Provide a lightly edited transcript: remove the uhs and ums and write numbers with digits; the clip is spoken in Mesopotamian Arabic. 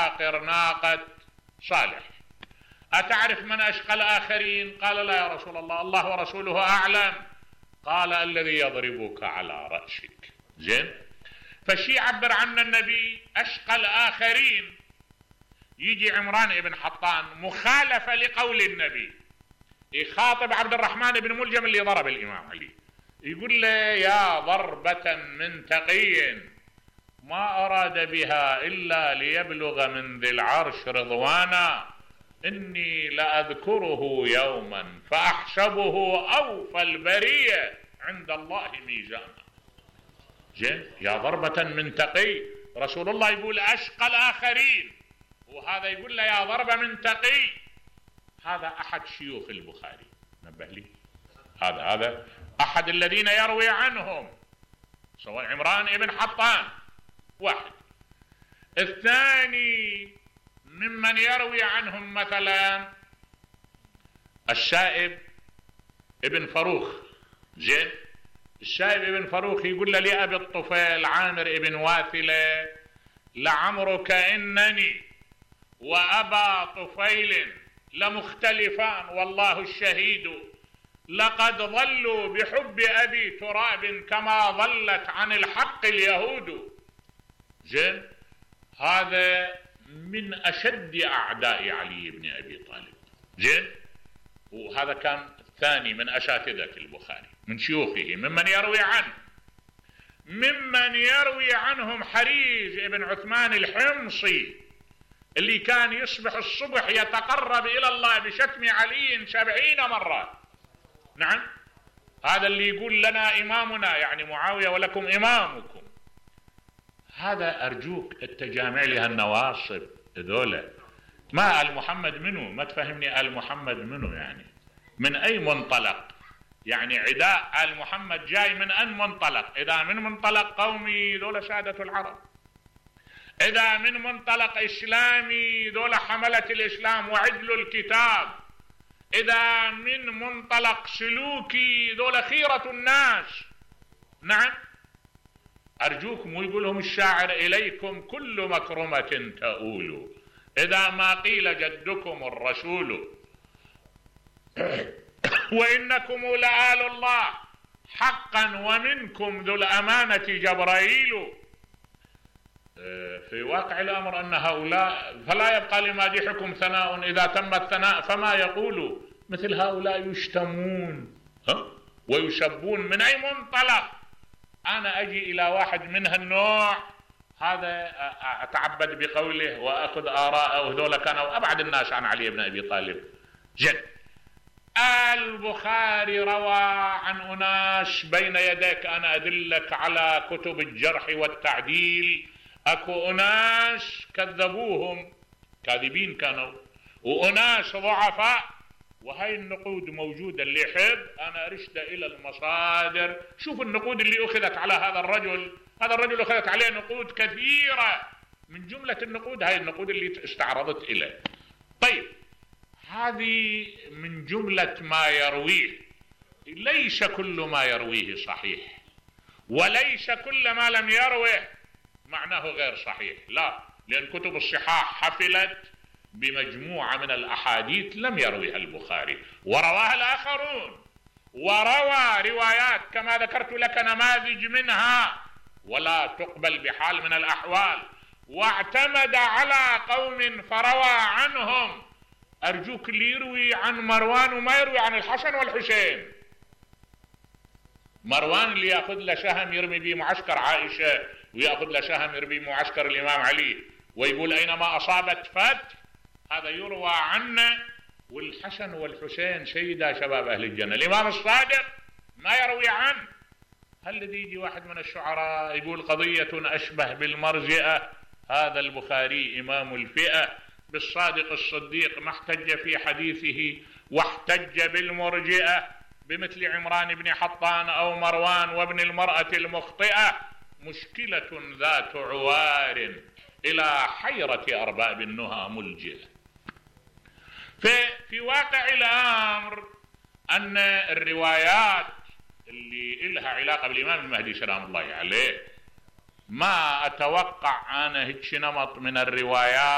عاقر ناقة صالح. أتعرف من أشقى الآخرين؟ قال لا يا رسول الله، الله ورسوله أعلم. قال الذي يضربك على رأسك. زين، فشي يعبر عنه النبي أشقى الآخرين. يجي عمران ابن حطان مخالفة لقول النبي، يخاطب عبد الرحمن بن ملجم اللي ضرب الإمام علي، يقول له يا ضربة من تقي ما أراد بها إلا ليبلغ من ذي العرش رضوانا، إني لأذكره يوما فأحسبه أوفى البرية عند الله ميزانا. زين، يا ضربة من تقي، رسول الله يقول أشقى الآخرين، وهذا يقول له يا ضربة من تقي. هذا أحد شيوخ البخاري، نبه لي، هذا أحد الذين يروي عنهم، سواء عمران ابن حطان واحد. الثاني ممن يروي عنهم مثلا الشائب ابن فروخ. زين، الشائب ابن فروخ يقول له لأبي الطفيل عامر ابن واثلة لعمرك إنني وأبا طفيل لمختلفان والله الشهيد، لقد ظلوا بحب أبي تراب كما ظلت عن الحق اليهود. زين، هذا من أشد أعداء علي بن أبي طالب. زين، وهذا كان الثاني من أساتذة البخاري من شيوخه ممن يروي عنه. ممن يروي عنهم حريز ابن عثمان الحمصي اللي كان يصبح الصبح يتقرب إلى الله بشتم علي 70 مرة. نعم، هذا اللي يقول لنا إمامنا يعني معاوية ولكم إمامكم. هذا أرجوك التجامع لها النواصب ذولا. ما آل محمد منه؟ ما تفهمني آل محمد منه يعني من أي منطلق؟ يعني عداء آل محمد جاي من أن منطلق؟ إذا من منطلق قومي ذولا سادة العرب، إذا من منطلق إسلامي ذولا حملة الإسلام وعدل الكتاب، إذا من منطلق سلوكي ذولا خيرة الناس. نعم، أرجوكم، ويقولهم الشاعر إليكم كل مكرمة تؤول إذا ما قيل جدكم الرسول، وإنكم لآل الله حقا ومنكم ذو الأمانة جبرائيل. في واقع الأمر أن هؤلاء فلا يبقى لمادحكم ثناء إذا تم الثناء فما يقول، مثل هؤلاء يشتمون ويسبون. من أي منطلق؟ أنا أجي إلى واحد من هالنوع هذا أتعبد بقوله وأخذ آراءه، وهذول كانوا أبعد الناس عن علي بن أبي طالب. جد البخاري روى عن أناس بين يديك، أنا أدلك على كتب الجرح والتعديل، أكو أناس كذبوهم كاذبين كانوا، وأناس ضعفاء، وهي النقود موجودة. اللي يحب أنا أرشد إلى المصادر. شوف النقود اللي أخذت على هذا الرجل أخذت عليه نقود كثيرة، من جملة النقود هاي النقود اللي استعرضت إليه. طيب، هذه من جملة ما يرويه. ليس كل ما يرويه صحيح، وليس كل ما لم يروه معناه غير صحيح، لا، لأن كتب الصحاح حفلت بمجموعة من الأحاديث لم يرويها البخاري ورواها الآخرون، وروى روايات كما ذكرت لك نماذج منها ولا تقبل بحال من الأحوال، واعتمد على قوم فروى عنهم. أرجوك اللي يروي عن مروان وما يروي عن الحسن والحسين. مروان اللي يأخذ له سهم يرمي به معسكر عائشة، ويأخذ له سهم يرمي معسكر الإمام علي، ويقول أينما أصابت فتح، هذا يروى عنه. والحسن والحسين سيدا شباب أهل الجنة. الإمام الصادق ما يروي عنه. هل الذي يجي واحد من الشعراء يقول قضية أشبه بالمرجئة، هذا البخاري إمام الفئة، بالصادق الصديق ما احتج في حديثه واحتج بالمرجئة بمثل عمران بن حطان أو مروان وابن المرأة المخطئة، مشكلة ذات عوار إلى حيرة أرباب النهى ملجئة. في واقع الأمر أن الروايات اللي إلها علاقة بالإمام المهدي سلام الله عليه ما أتوقع أنا هيك نمط من الروايات